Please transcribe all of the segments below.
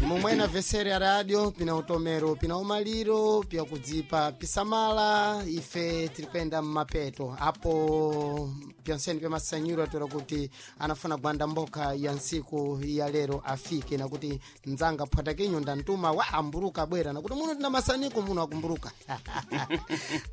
Mumwena vesere ya radio pina utomero pina umaliro pya kudzipa pisamala ife tiri kuyenda mmapeto apo pyonseni pyamasanyuro atoera kuti anafuna gwanda mboka ya ntsiku ya lero afike nakuti ndzanga phwatakinyo ndantuma wa amburuka bwera nakuti muno tina masaniko muno akumburuka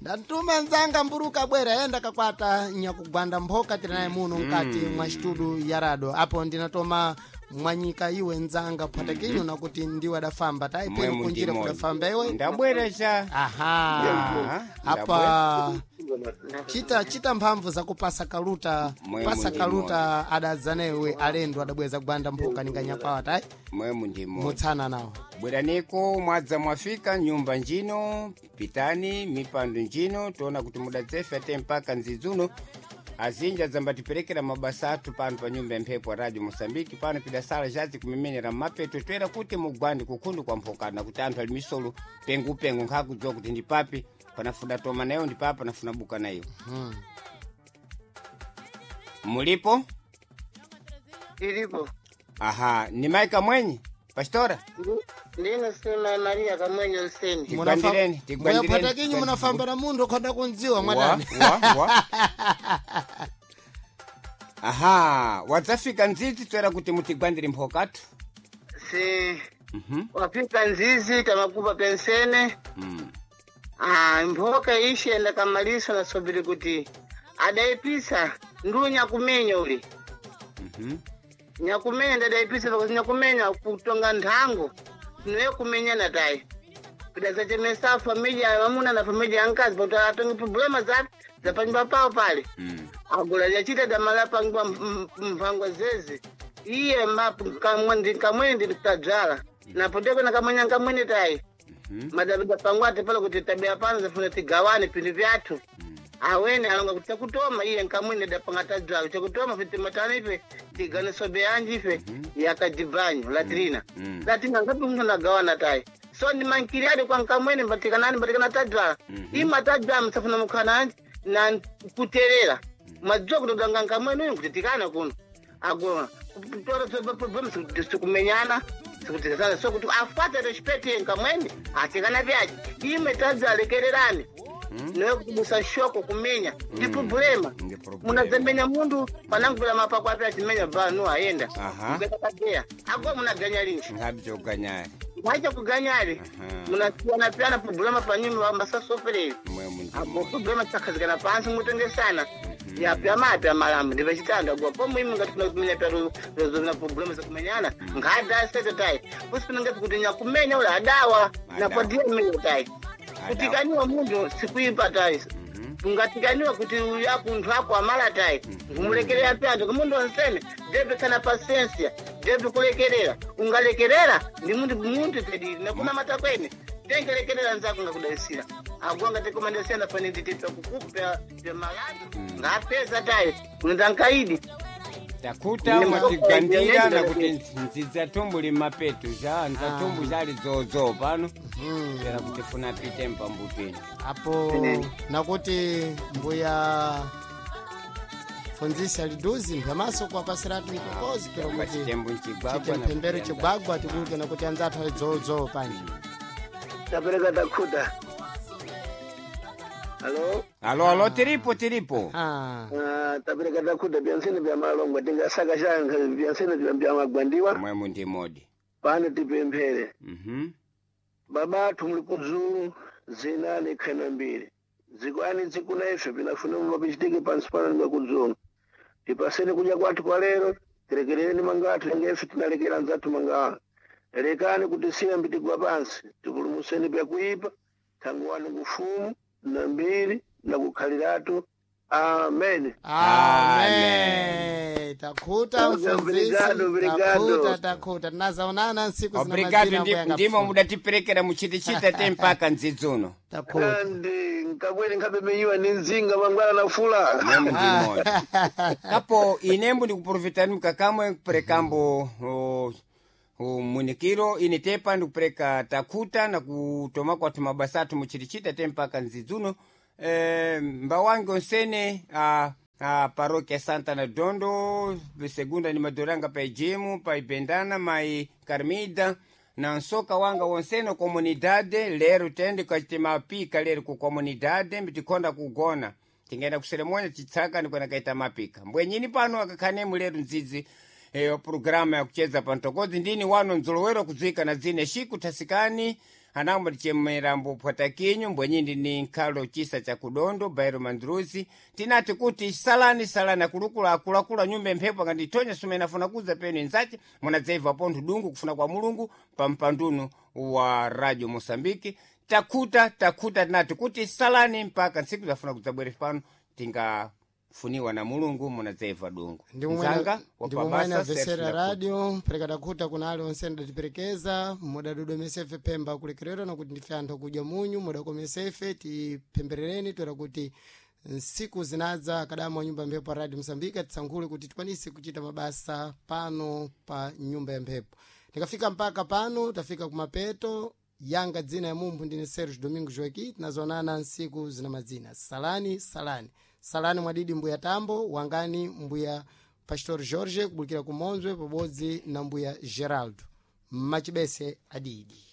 ndantuma ndzanga mburuka bwera yenda kakwata nyakugwanda mphoka tiri naye muno mkati mwa studio ya rado apo ndinatoma mwanyika iwe ndzanga phwatakinyo nakuti ndiwe adafamba taipeni Mwemu kunjira ndimoni. kudafamba iwe Ndabwera cha. aha Aha, apa chita chita mphamvu zakupasa kaluta Mwemu pasa ndimoni. kaluta adadzanewe alendo adabweza gwanda mphoka ninganyakwawa tayi Mwemu ndimoni. mutsana nawo Bweraniko mwadza mwafika nyumba njino pitani mipando njino toona kuti mudadzefe ate mpaka nzidzuno azinji adzambatiperekera mabasa athu pano pa nyumba ya mphepo ya radio moçambique pano pidasala jazi kumemenera mmapeto toera kuti mugwandi kukhundu kwa mphokana kuti anthu ali misolo pengupengu nkhakudziwa kuti ndi papi panafuna toma nayo ndi papi panafuna buka nayo mulipo Ilipo. aha ni mai kamwenyi pastora Ndine sima Maria Kamwenye Nseni. Tigwandireni, tigwandireni. phwatakinyo munafamba na munthu ukhoda kundziwa Wa, mwadani wa, wa. aha wadzafika ndzidzi toera kuti mutigwandire mphokatu Si wafika nzizi tamakupa pensene. Ah, mphoka ishenda kamaliso nasobiri kuti adaipisa ndu nyakumenya uli. Nyakumenya ndadaipisa pakuti nyakumenya kutonga nthango niwe kumenyana tayi. Pidasachemesa familia ya mamuna na familia ya nkazi pakuti atonge problema za zapanyumba pawo pale. Agula lyachita damala pangwa mphangwa zezi iye kamwene nditadzala napoteko nakamwenya nkamwene tayi madabida pangwa ati pala kuti tabia pano zafuna tigawane pinthu vyathu awene alonga kuti chakutoma iye nkamwene dapanga tadzala chakutoma fe timatana ife tigane sobe yanji ife yakadibanyo latrina latrina ngapi munthu nagawana tayi so ndimankiri adi kwa nkamwene mbatikanani mbatikana tadzala ima tadzala msafuna mukhananji na kuterera madziwa kuti udanga nkamwene uyu kutitikana kuno agona kutora problem sikumenyana sikutikana so kuti afate respect ye nkamwene atikana vyaji ime tadzalekererani niwe kubusa shoko kumenya ndi problema Ndi problema. munadzamenya mundu panangula mapako api achimenya banu ayenda Aha. kadeya ago munaganya linji nkhabzoganyari mwacha kuganyali Aha. munasiyana piyana problema panyumba masasopereri mwemu apo ndimoni problema tisakhazikana pansi mutengesana yapya mapya malambo ndipachitanda gwa pomwe imi ngati kuna kumenya pya rozovina problema zakumenyana nkhada sete tayi kusipina kuti nyakumenya ula adawa Adawa. napodiya mmenya tayi kutikaniwa munthu sikuipa tayi ungatikaniwa kuti uyu akunthu ako amala tayi ngumulekerera pyanthu kumundu onsene ndepesana pasiensia ndepikulekerera ungalekerera ndi munthu munthu tedili nakuna matakwene tenkelekerera nzako ngakudalisira agonga tekomandesiyana pane nditipya kukupa pya malandu ngapeza tayi kunenda nkaidi takuta mwatigwandira nakuti ndzidzi atumbu li mapeto ja nzatumbu jali dzodzo pano toera kuti funa pite mpambutweni apo nakuti mbuya funzisi aliduzi mphamaso kuwapasiratu mtokozi pero Chamba kuti chitembo nchigwagwa chite mphembero chigwagwa tikuti nakuti anzathu ali dzodzo panje tapereka takhuta halo alo alo tiripo tiripo ah. tapereka takhuta byansene bya malongo tingasaka shankha byansene bya magwandiwa mwemu ndimodi pano tipemphere Mhm. baba athu muli kudzulu zina likhena mbiri dzikwani dzikuna ife pinafuna mumapichitike pansi pano ndimwe kudzulu tipaseni kudya kwathu kwa lero tilekerereni manga athu enge ife tinalekera anzathu manga lekani kutisiya mbitigwa pansi tipulumuseni pyakuipa thangu wanu kufumu na mbiri na kukhaliratu amen Amen. Takhuta mfunzisi. Obrigado, obrigado. Takhuta, takhuta. Tinazaonana nsiku zina obrigado mazina kuyanga ndimo pfupi. mudatiperekera muchitichita te mpaka ndzidzuno Takhuta. kandi nkakwene nkhapemenyiwa ni mzinga mangwana na fula mwemu ndimodi kapo inembo ndikuprofitani mkakamwe kuperekambo munikiro ine tepa ndikupereka takhuta na kutoma kwathu mabasa athu muchitichita te mpaka nzidzuno mbawange onsene a paróquia Santa na Dondo, segunda ni Maduranga pa Ejimo, pa Ibendana, mai Carmida, Na nsoka wanga wonsene comunidade lero tende kachite mapika lero ku comunidade mbitikonda kugona tingenda kuseremonya chitsaka nikwena kaita mapika mbwenyini pano akakhanemu lero mdzidzi eyo programa ya kucheza pantokodzi ndini wano nzolowero kudzwika na dzine shiku thasikani anambo ndichemerambo phwatakinyu mbwenyindi ni nkhalo chisa cha kudondo bairo mandruzi tinati kuti salani salani akulukula akulakula nyumba emphepo akandithonya sumene afuna kuza penu inzace munadzaiva pontho dungu kufuna kwa mulungu pa mpandunu wa radio mosambiki takhuta takhuta tinati kuti salani mpaka ntsiku zafuna kudzabwere pano tingafuniwa na mulungu munadzaiva dungu Nzanga, ndimwe mwene wapabasa, avesera Serge Ndakuta. radio pereka takhuta kuna ali onse ndatiperekeza mudadodomesefe pemba kulekerera nakuti ndife anthu akudya munyu mudakomesefe tipemberereni toera kuti nsiku zinadza akadama wa nyumba ya mphepo pa radio msambiki atisankhule kuti tikwanise kuchita mabasa pano pa nyumba ya mphepo tikafika mpaka pano tafika kumapeto yanga dzina ya mumphu ndine Sergio Domingo Joaqui tinazonana nsiku zina madzina salani salani salani mwadidi mbuya tambo wangani mbuya pastor Jorge kubulukira kumonzwe pabodzi na mbuya Geraldo machibese adidi.